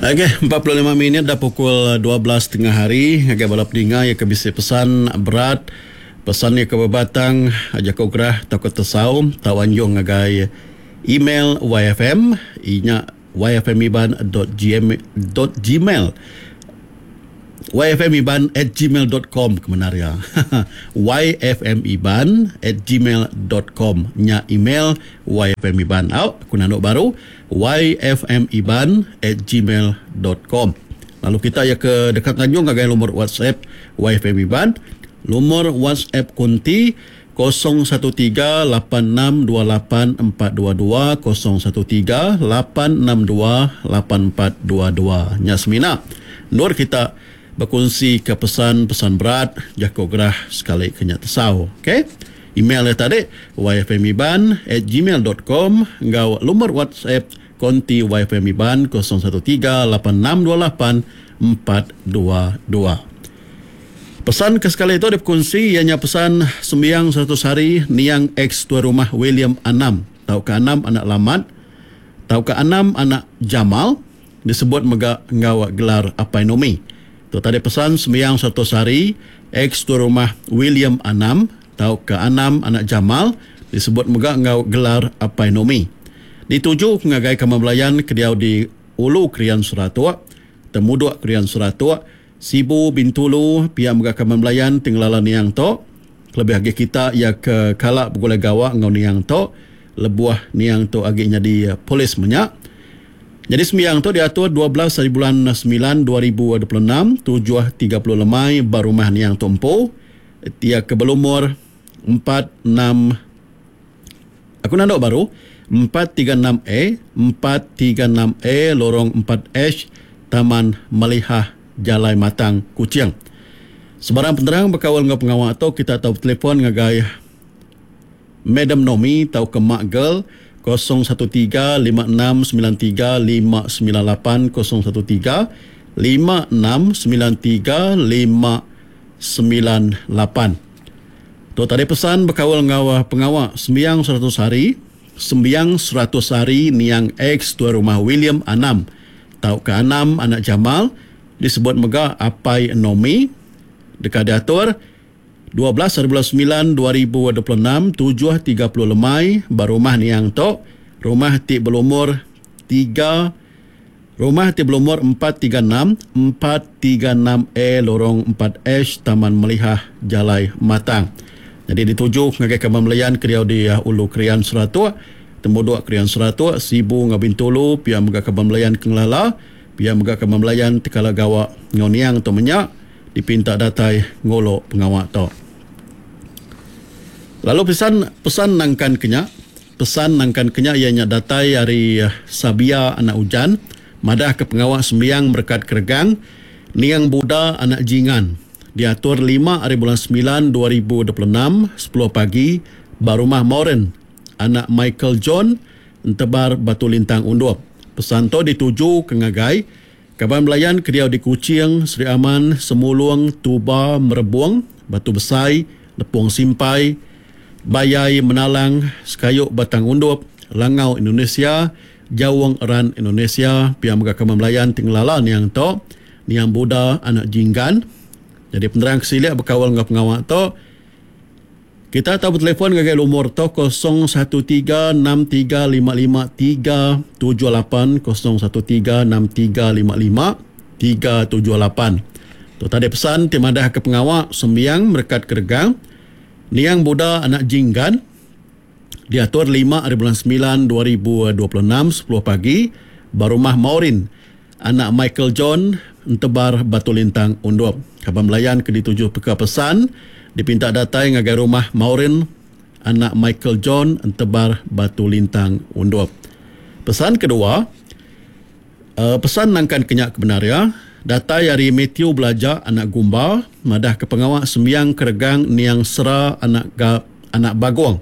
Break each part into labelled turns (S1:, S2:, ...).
S1: Okey, 45 minit dah pukul 12 tengah hari ngagai bala peninga iya ke bisi pesan berat, pesan iya ke bebatang jaku gerah tauka tesau tau anjung ngagai email YFM inya yfmiban.gmail yfmiban at gmail dot com ke bendar iya. yfmiban at gmail dot com nya email yfmiban. Au, aku nandu baru yfmiban at gmail dot com. Lalu kita iya ke deka nganjung ngagai lumur WhatsApp yfmiban, lumur WhatsApp kunti 013 8628 422 013 862 8422. Nya semina endur kita bekunsi ke pesan-pesan berat jaku gerah sekali ke nya tesau. Ok. Email iya tadi yfmiban at gmail dot com enggau lumur WhatsApp konti yfmiban 013 8628 422. Pesan ke sekali tu dipekunsi iya nya pesan sembiang 100 hari niang ex tuai rumah William Anam tauka Anam anak Lamat tauka Anam anak Jamal disebut mega enggau gelar Apai Nomi. Tu tadi pesan sembiang 100 hari ex tuai rumah William Anam tauka Anam anak Jamal disebut mega enggau gelar Apai Nomi. Dituju ngagai kaban belayan ke diau di Ulu Krian Seratok, Temudok Krian Seratok, Sibu, Bintulu, pia mega kaban belayan ti ngelala niang tu. Kelebih agi kita iya ke kala begulai gawa enggau niang tu lebuh niang tu agi nyadi polis menya. Nyadi sembiang tu diatur 12 hari bulan semilan 2026, 7:30 lemai ba rumah niang tu empu. Iya ke belumur empat enam aku nandu baru 436 A, 436 A Lorong 4H, Taman Melihah, Jalai Matang, Kuching. Sebarang penerang bekaul enggau pengawa tu kita tau betelefon ngagai Madam Nomi tauka Mak Girl 013 5693 598 013 5693 598. Tu tadi pesan bekaul enggau pengawa sembiang 100 hari, sembiang 100 hari niang ex Tuai Rumah William Anam tauka Anam anak Jamal disebut mega Apai Nomi deka diatur 12 hari bulan semilan 2026 7:30 lemai ba rumah niang tu, rumah ti belumur tiga Rumah ti belumur 436, 436 A Lorong 4H Taman Melihah Jalai Matang. Nyadi dituju ngagai kaban belayan ke diau di Ulu Krian Seratok, Temudok Krian Seratok, Sibu enggau Bintulu pia mega kaban belayan ke ngelala, pia mega kaban belayan ti kala gawa enggau niang tu menya dipinta datai ngulu pengawa tu. Lalu pesan pesan nangkan ke nya. Pesan nangkan ke nya iya nya datai ari Sabia anak Ujan madahka pengawa sembiang merekat keregang Niang Buda anak Jingan diatur lima ari bulan semilan 2026 sepuluh pagi ba Rumah Moren anak Michael John Entebar Batu Lintang Undup. Pesan tu ditujuka ngagai kaban belayan ke diau di Kuching, Sri Aman, Semulung, Tuba, Merebong, Batu Besai, Lepong Simpai, Bayai Menalang, Sekayu Batang Undup, Langau Indonesia, Jaung Eran Indonesia, pia mega kaban belayan ti ngelala niang tu, Niang Buda anak Jinggan. Nyadi penerang ke silik bekaul enggau pengawa tu, kita tau betelefon ngagai lumur tu 013 6355 378 013 6355 378. Tu tadi pesan ti madahka pengawa sembiang merekat keregang Niang Buda anak Jinggan diatur lima ari bulan semilan 2026 sepuluh pagi ba Rumah Maureen anak Michael John Entebar Batu Lintang Undup. Kaban belayan ke dituju peka pesan dipinta datai ngagai Rumah Maureen anak Michael John Entebar Batu Lintang Undup. Pesan kedua, Pesan nangkan ke nya kebendar iya, datai ari Mathew Belaja anak Gumba madahka pengawa sembiang keregang niang Sera anak Ga anak Bagong.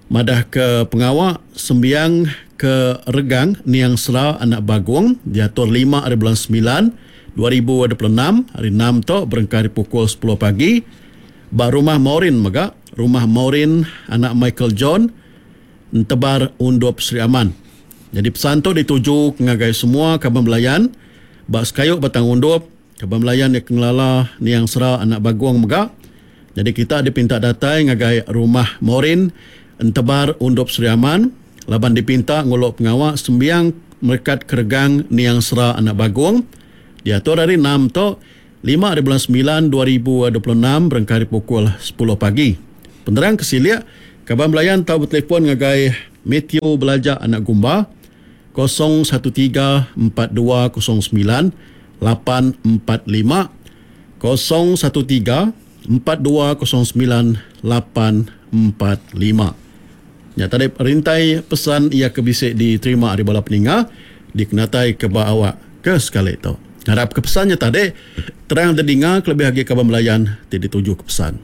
S1: Madahka pengawa sembiang ke regang niang Sera anak Bagong diatur lima ari bulan semilan 2026 hari enam tu berengkah ari pukul sepuluh pagi ba Rumah Maureen mega, Rumah Maureen anak Michael John, Entebar Undup Sri Aman. Nyadi pesan tu dituju ngagai semua kaban belayan ba sekayu Batang Undup, kaban belayan iya ke ngelala niang Sera anak Bagong mega. Nyadi kita dipinta datai ngagai Rumah Morin Entebar Undup Sri Aman laban dipinta ngulu pengawa sembiang merekat keregang niang Sera anak Bagong diatur hari Enam tu lima ari bulan semilan 2026 berengkah ari pukul sepuluh pagi. Penerang ke silik, kaban belayan tau betelefon ngagai Mathew Belaja anak Gumba, 013 4209 845, 013 4209 845. Nya tadi rintai pesan iya ke bisi diterima ari bala peninga dikenatai ke ba awak ke sekali tu. Ngarap ke pesan nya tadi terang didinga kelebih agi kaban belayan ti dituju ke pesan.